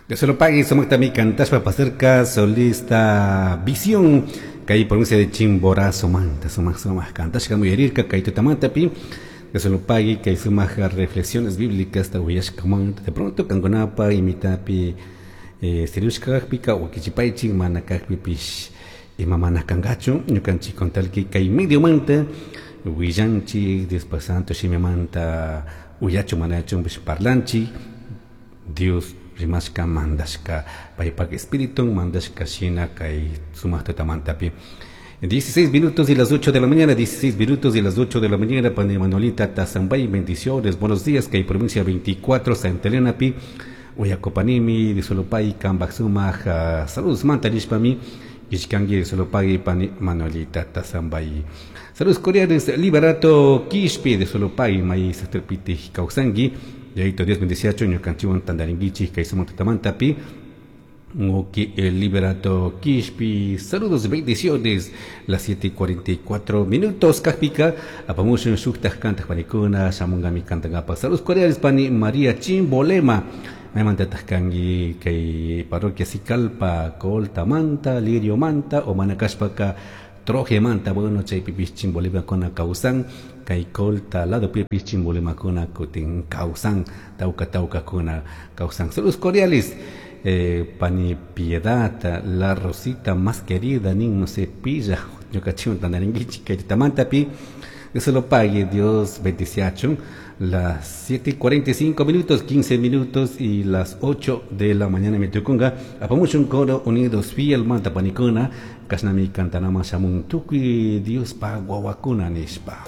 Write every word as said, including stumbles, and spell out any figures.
Dios lo pague, sumaktami kantashpa pasarka solista Visión kay provincia de Chimborazo manta sumak sumak kantashka uyarirka kay tutamantapi. Dios lo pague kay sumak reflexiones bíblicas ta uyashkamanta de pronto kankunapa imitapi eh, siriushka kakpika wakichipaychik mana kakpipish ima mana kankachu ñukanchik contalki kay medio manta willanchik Dios santo shimimanta uyachu manachunpish parlanchik Dios rimashka mandashka paypak espíritu mandashka shina kay sumak tutamantapi. dieciséis minutos y las ocho de la mañana, dieciséis minutos y las ocho de la mañana, pani Manuelita Tazambay, bendiciones, buenos días, kay provincia veinticuatro, Santa Elena pi, Uyacopanimi, de Solopay, kambak sumak, uh, saludos manta nishpami, Ishkangi de Solopay, pani Manuelita Tazambay. Saludos cordiales, Liberato Quispe de Solopay, may Satrpiti kawsanki, Yaito Dios bendiciacho, ñukanchiwan tandaringuichi, kay sumak tutamantapi, Oki, el Liberato Quispi, saludos, bendiciones, las siete y cuarenta y cuatro minutos, Kajpika, apamushin shuktaj kantaj panikuna, shamungami kantangapa, saludos cordiales pani María Chimbolema, maymantataj kanki kay parroquia Sicalpa, Colta Manta, Lirio Manta, o Manacashpaka, Troje Manta, bueno, chaypipis Chimbolema kona kawsan, kay Colta lado pipis Chimbolema kona kutin kawsan, tauka tauka kona kawsan, saludos cordiales. Eh, pani Piedad, la Rosita más querida, ni no se pilla, yo cachín tanaringuichi, que tamantapi, Dios lo pague, Dios bendiciachun, las siete y cuarenta y cinco minutos, quince minutos y las ocho de la mañana me tucunga, apamuchun coro unidos fiel manta panicona, kasnami cantanama shamun tukui, Dios pa guaguacuna nishpa.